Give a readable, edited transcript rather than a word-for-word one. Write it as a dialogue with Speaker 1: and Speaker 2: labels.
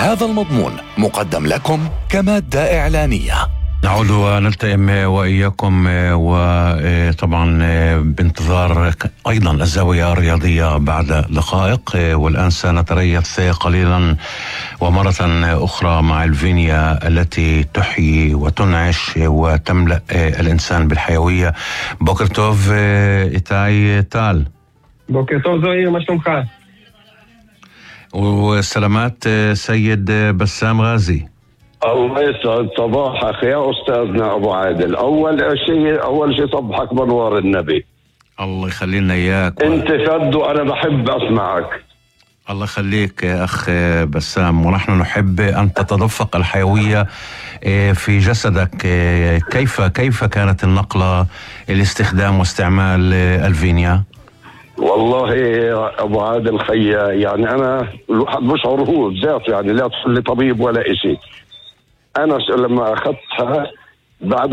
Speaker 1: هذا المضمون مقدم لكم كمادة إعلانية.
Speaker 2: نعود ونلتئم وإياكم، وطبعا بانتظار أيضا الزاوية الرياضية بعد دقائق، والآن سنتريث قليلا ومرة أخرى مع الفينيا التي تحيي وتنعش وتملأ الإنسان بالحيوية. بوكر توف إيتاي تال.
Speaker 3: بوكر توف زهير، ما شلونك؟
Speaker 2: والسلامات سيد بسام غازي.
Speaker 4: الله يسعد صباحك يا أستاذنا أبو عادل. أول شيء صبحك بنوار النبي.
Speaker 2: الله يخلينا إياك.
Speaker 4: أنت فد وأنا بحب أسمعك.
Speaker 2: الله يخليك يا أخ بسام، ونحن نحب أن تتدفق الحيوية في جسدك. كيف كانت النقلة، الاستخدام واستعمال الفينيا؟
Speaker 4: والله يا أبو عادل خيا، يعني أنا الواحد بشعر هو بذات، يعني لا تقول لي طبيب ولا إشي. أنا لما أخذتها بعد